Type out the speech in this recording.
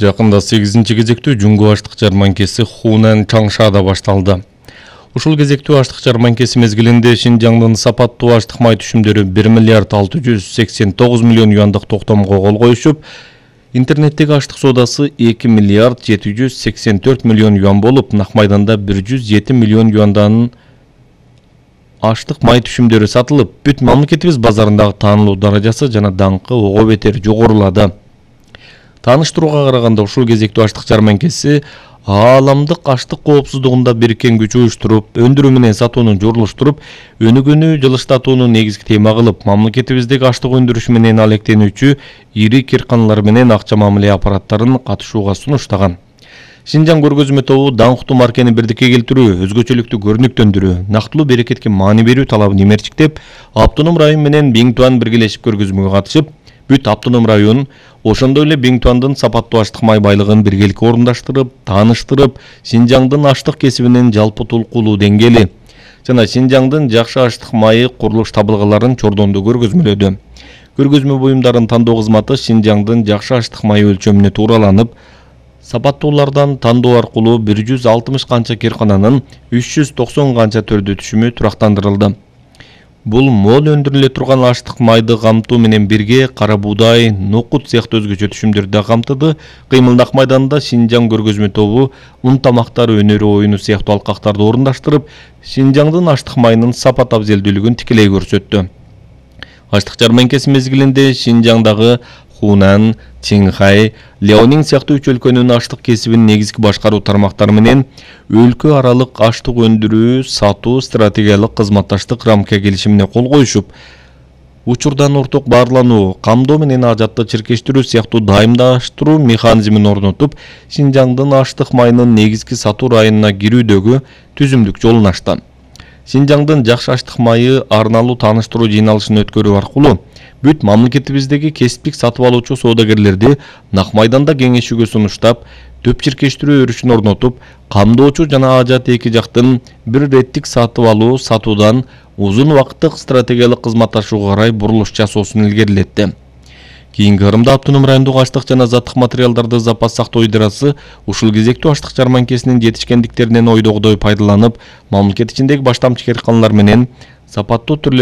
Жакында 8-кезектүү Жунгу аштык жарманкеси Хунан Чаңшада башталды. Ушул кезектүү аштык жарманкеси мезгилинде Шинжаңдын сапаттуу аштык май түшүмдөрү 1 миллиард 689 миллион юандык токтомго кол коюшуп, интернеттеги аштык соодасы 2 миллиард 784 миллион юан болуп, нак майданда 107 миллион юандан аштык май түшүмдөрү сатылып, бүт мамлекетибиз базарындагы таанылуу даражасы жана даңкы ого бетер жогорулады. Тааныштырууга караганда ушул кезектүү аштык жарманкеси ааламдык аштык коопсуздугунда бириккен күч уюштуруп, өндүрүү менен сатууну журлуштуруп, өнүгүүнү жылыштатууну негизги тема кылып, мамлекетибиздеги аштык өндүрүш менен алектенүүчү ири кирканалар менен акча мамиле аппараттарын катышууга сунуштаган. Шинжаң көргөзмө тобу даңктуу маркени бирдикке келтирүү, өзгөчөлүктү көрүнүктөндүрүү, нактылуу берекетке маани берүү талабын имерчиктеп, Автоном район менен Биңтуан биргелешип көргөзмөгө катышып, бүт Автоном район, ошондой эле Биңтуандын сапаттуу аштык май байлыгын биргеликке орундаштырып, тааныштырып, Шинжаңдын аштык кесибинин жалпы толкулуу деңгээли жана Шинжаңдын жакшы аштык майы курулуш табылгаларын чордондо көргөзмөлөдү. Көргөзмө буюмдарын тандоо кызматы Шинжаңдын жакшы аштык майы өлчөмүнө туураланып, сапаттуулардан тандоо аркылуу 160 канча киркананын 390 канча төрдө түшүмү турактандырылды. Бул мол өндүрүлө турган аштык майды камтуу менен бирге кара буудай, нокут сыяктуу өзгөчө түшүмдөрдү да камтыды. Кыймылдак майданында Шинжаң көргөзмө тобу ун тамактар өнөрү оюну сыяктуу алкактарды орундаштырып, Шинжаңдын аштык майынын сапат абзелдүүлүгүн тикелей көрсөттү. Аштык жарманкеси мезгилинде Шинжаңдагы Хунан, Чинхай, Леонин сыяктуу үч өлкөнүн аштык кесибин негизги башкаруу тармактары менен өлкө аралык аштык өндүрүү, сатуу стратегиялык кызматташтык рамка келишимине кол коюшуп, учурдан орток баарлануу, камдоо менен ажатты чиркештирүү сыяктуу дайымдаштыруу механизмин орнотуп, Шинжаңдын аштык майынын негизги сатуу районуна кирүүдөгү түзүмдүк жолун ачты. Шинжаңдын жакшы аштык майы арналуу тааныштыруу жыйналышын өткөрүү аркылуу бүт мамлекетибиздеги кесиптик сатып алуучу соодагерлерди нак майданда кеңешүүгө сунуштап, төп чиркештирүү өрүшүн орнотуп, камдоочу жана ажат эки жактын бир реттик сатып алуу сатуудан узун убакыттык стратегиялык кызматташууга карай бурулуш жасоосун илгерилетти. Кийинки кырымда Автоном райондогу аштык жана заттык материалдарды запас сактоо идерасы ушул кезектүү аштык жарманкесинин жетишкендиктеринен ойдогудой пайдаланып, мамлекет ичиндеги баштамчы кирканалар менен сапаттуу түрлөрү